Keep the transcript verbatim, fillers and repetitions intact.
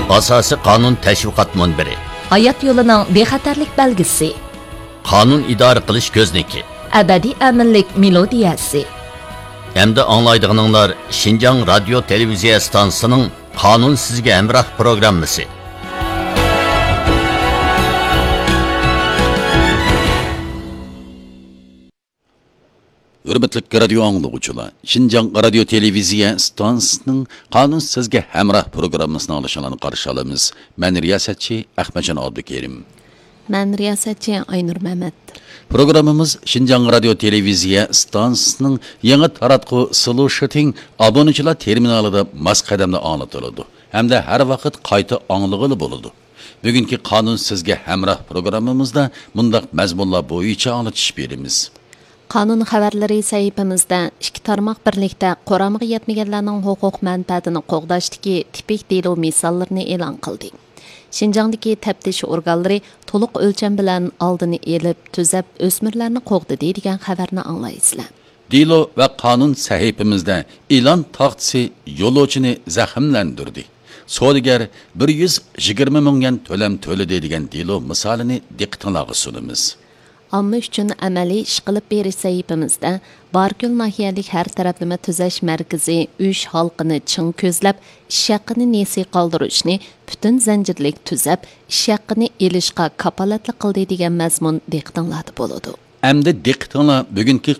ئاساسىي قانۇن تەشۋىقات مۇنبىرى. ھايات يولىنىڭ بىخەتەرلىك بەلگىسى. قانۇن ئىدارە قىلىش كۆزنىكى. ئەبەدىي ئەمىنلىك مېلودىيەسى. ئەمدى ئاڭلايدىغىنىڭلار شىنجاڭ رادىيو تېلېۋىزىيە ئىستانسىسىنىڭ قانۇن سىزگە ھەمراھ پروگراممىسى. ھۆرمەتلىك رادىيو ئاڭلىغۇچىلار، شىنجاڭ رادىيو تېلېۋىزىيە ئىستانسىسىنىڭ قانۇن سىزگە ھەمراھ پروگراممىسىنى ئاڭلىشىڭلارنى قارشى ئالىمىز. مەن رىياسەتچى ئەخمەتجان ئابدۇكېرىم. مەن رىياسەتچى ئاينۇر مەمەت. پروگراممىمىز شىنجاڭ رادىيو تېلېۋىزىيە ئىستانسىسىنىڭ يېڭى تاراتقۇ سلۇشىتىڭ ئابۇنىچىلار تېرمىنالىدا ماس قەدەمدە ئاڭلىتىلىدۇ ھەمدە ھەر ۋاقىت قايتا ئاڭلىغىلى بولىدۇ. بۈگۈنكى قانۇن سىزگە ھەمراھ پروگراممىمىزدا مۇنداق مەزمۇنلار بويىچە ئاڭلىتىش بېرىمىز. قانۇن خەۋەرلىرى سەھىپىمىزدە ئىككى تارماق بىرلىكتە قۇرامىغا يەتمىگەنلەرنىڭ ھوقۇق مەنپەئەتىنى قوغداشتىكى تىپىك دېلو مىساللىرىنى ئېلان قىلدى. شىنجاڭدىكى تەپتىش ئورگانلىرى تولۇق ئۆلچەم بىلەن ئالدىنى ئېلىپ، تۈزەپ، ئۆسمۈرلەرنى قوغدىدى دېگەن خەۋەرنى ئاڭلايسىلەر. دېلو ۋە قانۇن سەھىپىمىزدە ئېلان تاختىسى يولۇچىنى زەخىملەندۈردى. سودىگەر بىر يۈز يىگىرمە مىڭ يۈەن تۆلەم تۆلىدى دېگەن دېلو مىسالىنى دىققىتىڭلارغا سۇنىمىز. ئامما ئۈچۈن ئەمەلىي ئىش قىلىپ بېرىش سەھىپىمىزدە باركۆل ناھىيەلىك ھەر تەرەپلىمە تۈزەش مەركىزى ئۈچ ھالقىنى چىڭ كۆزلەپ، ئىش ھەققىنى نېسى قالدۇرۇشنى پۈتۈن زەنجىرلىك تۈزەپ، ئىش ھەققىنى ئېلىشقا كاپالەتلىك قىلدى دېگەن مەزمۇن دىققىتىڭلاردا بولىدۇ. ئەمدى دىققىتىڭلار بۈگۈنكى